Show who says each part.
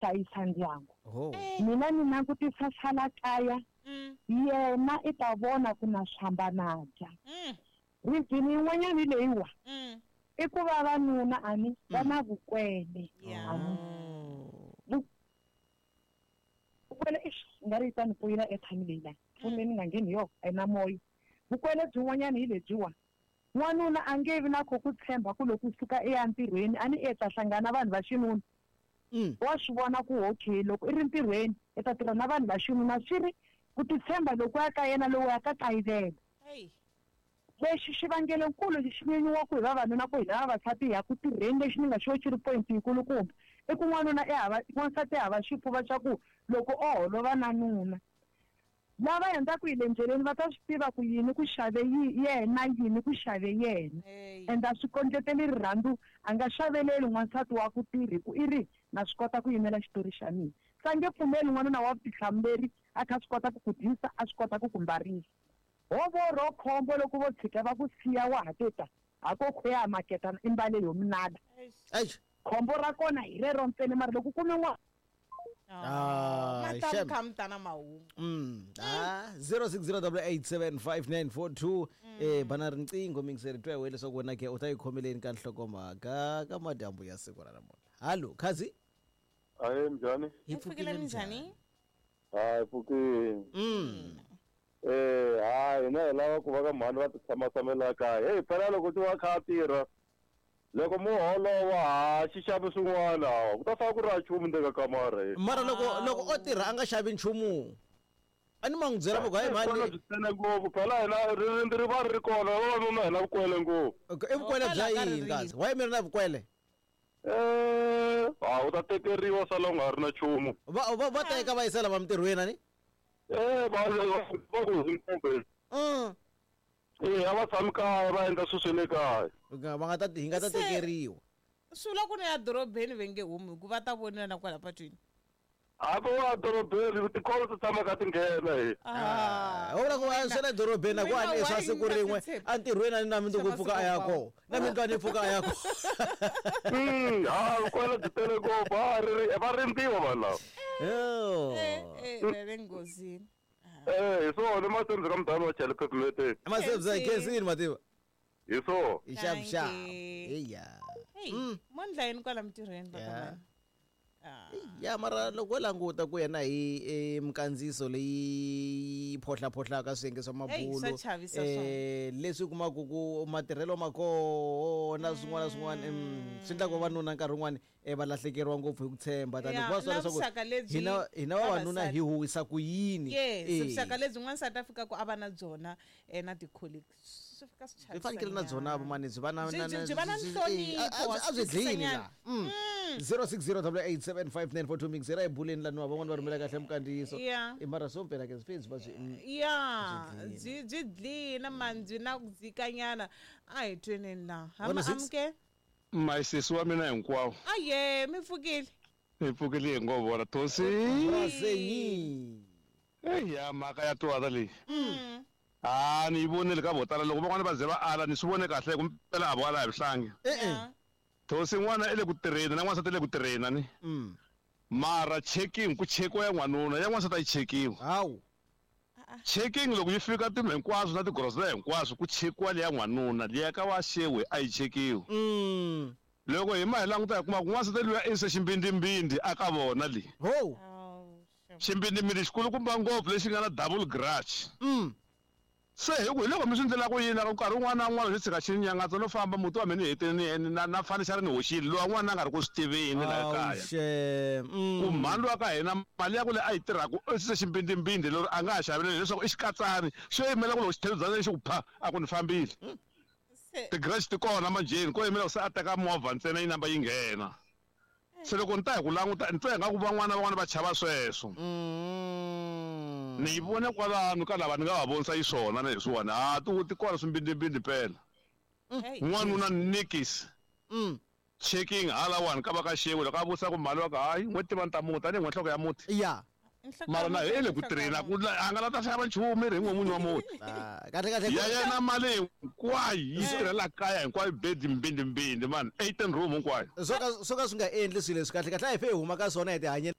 Speaker 1: Hlayisa ndyangu.
Speaker 2: Oh.
Speaker 1: Mina ni langutisa swa la kaya, yena i ta vona ku na swi hambana dya. Reason yin'wanyana hi leyiwa, i ku vavanuna a ni va na vukwele. A ni. Vukwele eish i nga ri yi ta ni poyila airtime leyi la. Foni leyi ni nga ngheni hi yona a yi na moya. Vukwele byin'wanyana hi lebyiwa, n'wanuna a nge vi na kho ku tshemba ku loko u suka i ya ntirhweni a ni i ta hlangana na vanhu va xinuna. Wa swi vona ku okay loko i ri ntirhweni i ta tirha na vanhu va xinuna swi ri ku titshemba lokuya ka yena lowuya ka kayivela. Lexi xivangelonkulu lexi xi nyenyiwaka hi vavanuna ku hina vavasati hi ya ku tirheni lexi ni nga xo xi ri point yikulukumba i ku n'wanuna i hava n'wansati i hava xifuva xa ku loko o holova na nuna lava hundzaka hi le ndleleni va ta swi tiva ku yini ku xave yena yini ku xave yena and a swi kondleteli rirhandzu a nga xaveleli n'wansati wa ku tirhi ku i ri na swi kota ku yimela xitori xa mina se a nge pfumeli n'wanuna wa vutihlamuleri a kha a swi kota ku ku dyisa a swi kota ku ku mbarisa ho vo ro khombo loko vo tshika va ku siya wa ha te ta ha ko khuya maketana i mbale yo minala khombo ra kona hi rero ntsena mara loko u kume n'wana
Speaker 2: Ah,
Speaker 3: ma ta
Speaker 2: shem.
Speaker 3: kha mi ta na mahungu
Speaker 2: Ah, 0608875942 eh bana riqingho mingiseri twa hi leswaku wena ke u ta yi khomeleni ka nhlokomhaka ka madyambu ya siku ra namuntlha hallo khazi
Speaker 4: Ahe njhani?
Speaker 2: hi
Speaker 3: Hi pfukile minjhani
Speaker 4: Hayi pfukile. Eh, hayi hina hi lava ku va ka mhani va ti tshama tshamela kaya. Hey, phela loko ti va kha a tirha loko mo holova ha xi xavi swin'wana hawa ku ta fana ku ri a nchumu ndzeni ka kamara he.
Speaker 2: Mara loko loko o tirha a nga xavi nchumu a ni ma n'wi byela va ku hayi
Speaker 4: Kona
Speaker 2: mhani
Speaker 4: byi tele ngopfu phela hina ririmi ri va ri ri kona vavanuna hina vukwele ngopfu.
Speaker 2: i vukwele bya
Speaker 3: Kwala ka
Speaker 2: yini
Speaker 3: ririmi.
Speaker 2: kasi why mi ri na vukwele
Speaker 4: Eh, ha u ta tekeriwa sala u nga ri na nchumu.
Speaker 2: Va va va teka va yisa lava mintirhweni ani
Speaker 4: Eh, va va ku hi Eh, a va tshami kaya va endla swilo swa le kaya.
Speaker 2: Va nga ta hi nga ta
Speaker 3: Se-
Speaker 2: tekeriwa
Speaker 3: swi vula ku ni ya dorobeni va nge humi hikuva va ta voniwa na kwala patwini
Speaker 4: Hambi wa dorobeni tikolo ti tshama ka ti nghena he.
Speaker 3: Ah,
Speaker 2: u vula ku a swa le dorobeni a ku
Speaker 3: Mina
Speaker 2: a ni swa
Speaker 3: why
Speaker 2: siku
Speaker 3: ni nga
Speaker 2: rin'we
Speaker 3: titshembi?
Speaker 2: entirhweni a ni na mundzuku
Speaker 3: Swa
Speaker 2: pfuka a ya
Speaker 3: masiku
Speaker 2: kona na mundzuku a ni pfuka a ya kona
Speaker 4: Ha vukwele byi tele ngopfu ha ri va rindziwa vanhu lava.
Speaker 2: Oh.
Speaker 3: Eh, eh, va le nghozini
Speaker 4: Eh, hi swona i masebzi ka mudala wa chele phefumeteni.
Speaker 2: Masebzi a khensini mativa
Speaker 4: Hi swona.
Speaker 2: hi xavuxavu
Speaker 3: Thank you.
Speaker 2: eya
Speaker 3: hey mo ndla yini kwala mintirhweni va ka
Speaker 2: Yeah.
Speaker 3: mani Ah.
Speaker 2: Ya mara loko wo languta ku yena hi eh, minkandziyiso leyi phohlaphohlaka swiyenge swa
Speaker 3: Hey,
Speaker 2: mabulo
Speaker 3: swa chavisa
Speaker 2: eh, leswi kumaka ku matirhelo ma koho na swin'wana na swin'wana swi endla ku vavanuna nkarhi wun'wani eh, va lahlekeriwa ngopfu hi ku tshemba tani
Speaker 3: Ya,
Speaker 2: hikuva swi
Speaker 3: na
Speaker 2: leswaku
Speaker 3: vuxaka lebyi
Speaker 2: hina hina vavanuna
Speaker 3: vavasati.
Speaker 2: hi huwisa ku yini
Speaker 3: Yes,
Speaker 2: Eh,
Speaker 3: vuxaka lebyi n'wansati a fikaka a va na byona eh, na ti-colleagues swi fika swi
Speaker 2: byi fanekele na byona vumani byi va na
Speaker 3: Byi-
Speaker 2: na-
Speaker 3: byi-
Speaker 2: na-
Speaker 3: byi va na
Speaker 2: byi-
Speaker 3: nhlonipho,
Speaker 2: eh, a-
Speaker 3: wa
Speaker 2: a byi
Speaker 3: swi
Speaker 2: dlini
Speaker 3: twisisanyana.
Speaker 2: la 0608875942 mixera ebuleni laniwa van'wani va rhumela kahle minkandziyiso
Speaker 3: Yeah.
Speaker 2: Eh, mara swo mpela ke swi byi va swi
Speaker 3: ya
Speaker 2: Byi
Speaker 3: byi byi dlina mani byi na ku dzikanyana a hi tweneni laha
Speaker 2: One
Speaker 3: hama
Speaker 2: six.
Speaker 3: amuke
Speaker 5: Masisi wa mina hinkwawo
Speaker 3: aye mi pfukile
Speaker 5: hi pfukile hi ngo vona thosi
Speaker 2: Brasenyi.
Speaker 5: eya mhaka ya twala leyi ha ni yi vonile ka vo tala loko van'wana va ze va ala ni swi vone kahle ku mpela a vo ala hi vuhlangi
Speaker 2: Eh eh.
Speaker 3: Ya.
Speaker 5: thosi n'wana i le ku tirheni na n'wansati i le ku tirheni ani mara checking ku chekiwa ya n'wanuna ya n'wansati a yi chekiwi
Speaker 2: Hawu.
Speaker 5: checking loko yi fika tindlu hinkwaswo na tigrosa hinkwaswo ku chekiwa leya n'wanuna liya ka wa xewe a yi chekiwi loko hi ma hi languta hi kuma ku n'wansati luya i se ximbindimbindi a ka vona leyi
Speaker 2: Ho.
Speaker 3: Awu, shem.
Speaker 5: ximbindimbindi xikulukumba ngopfu lexi nga na double grudge Se hi ku hi loko mi swi ndlela ku yini ka nkarhi wun'wana na wun'wana swi tshika xi ni nyangatsa no famba muti wa mina ni hetile ni na na fanichara ni hoxile lowa n'wana a nga ri ku swi tiveni laha
Speaker 2: Awu
Speaker 5: kaya
Speaker 2: xem.
Speaker 5: ku mhani wa ka hina mali ya ku leyi a yi tirhaka i se ximbindimbindi lero a nga ha xaveleli leswaku i xikatsani xo yimela ku loko xithebuzana xi ku pha a ku ni fambile
Speaker 3: Se-
Speaker 5: ti-grudge ti kona manjheni ko yimela ku se a teka movha ntsena yi namba yi nghena se loko ni ta hi ku languta ni twa ingaku van'wana van'wana va chava sweswo ni yi vone kwalano ka lava ni nga va vonisa xiswona na leswiwani ha ti ti kona swimbindimbindi mpela
Speaker 3: Hey.
Speaker 5: n'wanuna nikis checking halawani ka va ka xewe loko a vutisa ku mali wa ka hayi n'we tiva ni ta muti tanihi n'we nhloko ya muti
Speaker 2: Ya.
Speaker 3: Nhloko
Speaker 5: Mara
Speaker 3: ya
Speaker 5: na
Speaker 3: muti,
Speaker 5: hi le ku
Speaker 3: nhloko ya
Speaker 5: tirheni a ku
Speaker 3: muti.
Speaker 5: a nga la ta xava nchumu ri hi n'we n'wini wa muti.
Speaker 2: Ah, kahle kahle
Speaker 5: Ya yena mali hinkwayo yi tirhela kaya hinkwayo, bedi mbindi mbindi mani, 18 room hinkwayo.
Speaker 2: Swo ka swi nga endli swilo leswi kahle kahle a hi fe hi huma ka swona hi tihanyela.